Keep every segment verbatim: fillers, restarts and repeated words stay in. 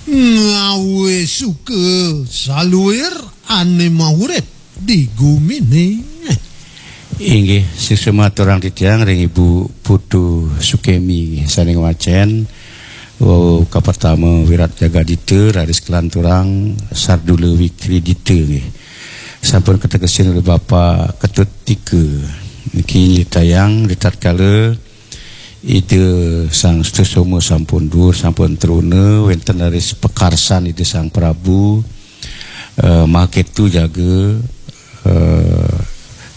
Ngawe suka saluir ane maurip di gumine. Inggih, suksma aturang titiang ring Ibu Putu Sukemi, nggih, sane ngwacen. Wau kapertama Wirat Jagadita, raris kalanturang Sardula Wikridita, nggih. Sampun kategesin oleh Bapak Ketut Tika. Niki nyritayang ritatkala Ida Sang Sutasoma sampun duur, sampun truna, wenten raris pakarsan Ida Sang Prabu, eh, Mahaketu jaga, eh,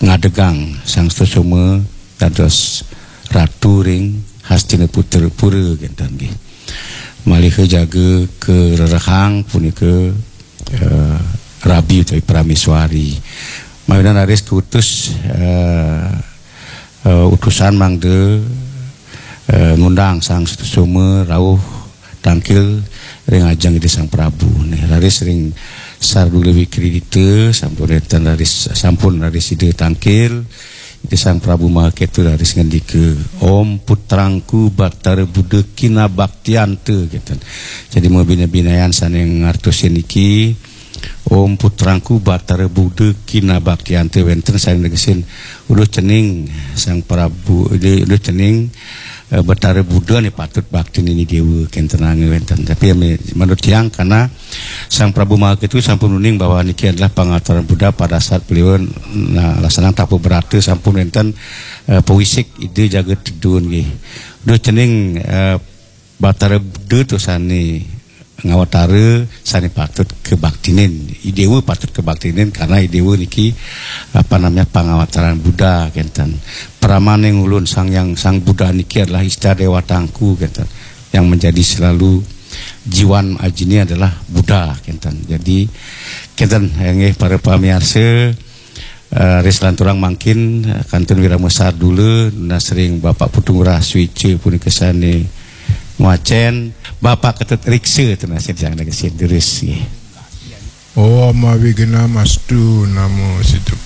ngadegang Sang Sutasoma dados ratu ring Hastinapura kenten nggih. Malih jaga karerehang punika, eh, rabi utawi prameswari. Mawinan raris kautus, eh, eh, utusan mangda, eh, ngundang Sang Sutasoma rauh tangkil ring ajeng Ida Sang Prabu. Nih, raris ring Sardula Wikridita sampun wenten raris, sampun raris Ida tangkil. Ida Sang Prabu Mahaketu raris ngendika, "Om putrangku Batara Buddha kinabaktianta," kenten. Jadi mabina-binayan sane ngartosin niki, "Om putrangku Batara Buddha kinabaktianta," wenten sane negesin, "Uduh cening Sang Prabu, uduh, uduh cening, eh, Batara Buddha ne patut baktinin Idewa," kenten ange wenten. Tapi ame, menurut tiang, karena Sang Prabu Mahaketu sampun uning bahwa niki adalah pangawataren Buddha pada saat beliau, nah, laksanang tapa brata, sampun wenten, eh, pawisik Ida jaga tedun nggih. Uduh cening, eh, Batara Buddha to sane ngawatara, sane patut kabaktinin. Idewa patut kabaktinin karena Idewa niki, apa namanya, pangawataren Buddha kenten. "Pramane ulun, Sang Hyang Sang Buddha niki adalah ista dewatangku," kenten. Yang menjadi selalu jiwan ajine adalah Buddha kenten. Jadi kenten, nggih, para pamiarsa, eh, ris lanturang mangkin, eh, kantun wirama sardula, nunas ring Bapak Putu Ngurah Suica punika sane ngwacen, Bapak Ketut Riksa, tunas ring sang negesin durus nggih. Om Awighnam Astu Namo Siddham.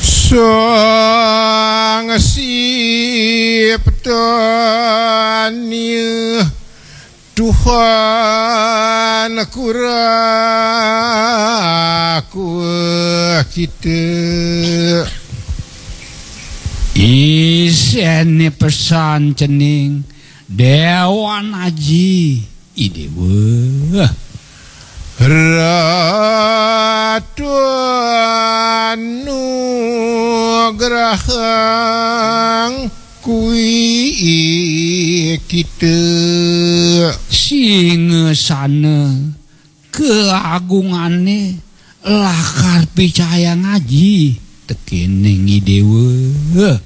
Sang Siptani Tuhan kuraku kita. Isene pesan cening Dewan Aji Idewa. Ratu anugrahang kuwi kita. Singasana keagungane lakar picayang aji tekening Idewa.